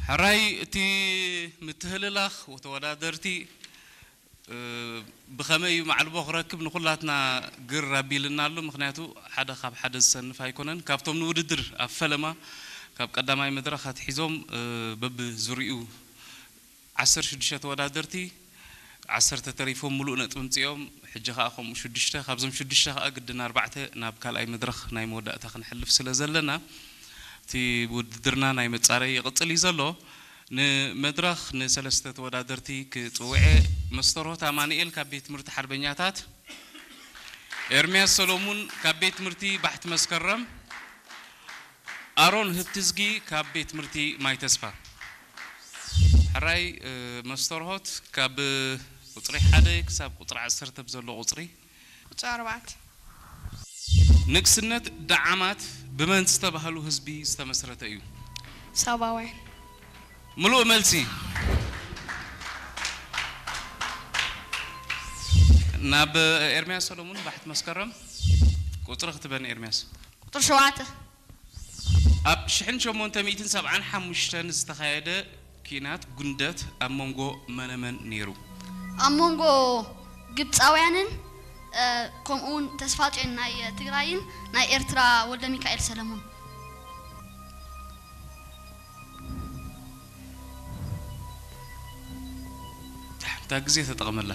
ሕራይ እቲ ምትህልላኽ ወተወዳደርቲ ብኸመይ እዩ ማዕልቦ ክረክብ ንኹላትና ግር ኣቢልና ኣሎ። ምኽንያቱ ሓደ ካብ ሓደ ዝሰንፍ ኣይኮነን። ካብቶም ንውድድር ኣብ ፈለማ ካብ ቀዳማይ መድረኽ ኣትሒዞም በብዙሪኡ ዓሰርተ ሽዱሽተ ተወዳደርቲ ዓሰርተ ተሪፎም ምሉእ ነጥቢ ምፅኦም፣ ሕጂ ከዓ ከምኡ ሽዱሽተ፣ ካብዞም ሽዱሽተ ከዓ ግድን ኣርባዕተ ናብ ካልኣይ መድረኽ ናይ መወዳእታ ክንሕልፍ ስለ ዘለና እቲ ውድድርና ናይ መፃረይ ይቕፅል እዩ ዘሎ። ንመድረኽ ንሰለስተ ተወዳደርቲ ክፅውዐ፣ መስተርሆት ኣማኑኤል ካብ ቤት ትምህርቲ ሓርበኛታት፣ ኤርምያስ ሰሎሙን ካብ ቤት ትምህርቲ ባሕቲ መስከረም፣ ኣሮን ህብትዝጊ ካብ ቤት ትምህርቲ ማይ ተስፋ። ሕራይ መስተርሆት ካብ ቁፅሪ ሓደ ክሳብ ቁፅሪ ዓሰርተ ብዘሎ ቁፅሪ። ቁፅሪ ኣርባዕተ። ንግስነት ደዓማት ብመን ዝተባህሉ ህዝቢ ዝተመስረተ እዩ? ሳባውያን። ምሉእ መልሲ። ናብ ኤርምያስ ሰሎሙን ባሕቲ መስከረም ቁፅሪ ክትበን ኤርምያስ። ቁፅሪ ሸውዓተ። ኣብ ሽሕን ሸሞንተ ሚእትን ሰብዓን ሓሙሽተን ዝተኻየደ ኲናት ጉንደት ኣብ መንጎ መነመን ነይሩ? ኣብ መንጎ ግብፃውያንን ከምኡውን ተስፋፅዮን ናይ ትግራይን ናይ ኤርትራ ወልደ ሚካኤል ሰለሙን። እታ ግዜ ተጠቐመላ።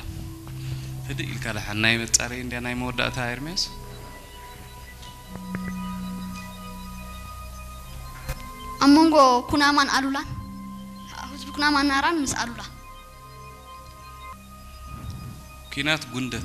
ህድእ ኢልካ ደሓን ናይ መጻረይ እንድያ ናይ መወዳእታ ኤርምያስ። ኣብ መንጎ ኩናማን ኣሉላን። ህዝቢ ኩናማን ናራን ምስ ኣሉላ። ኲናት ጉንደት።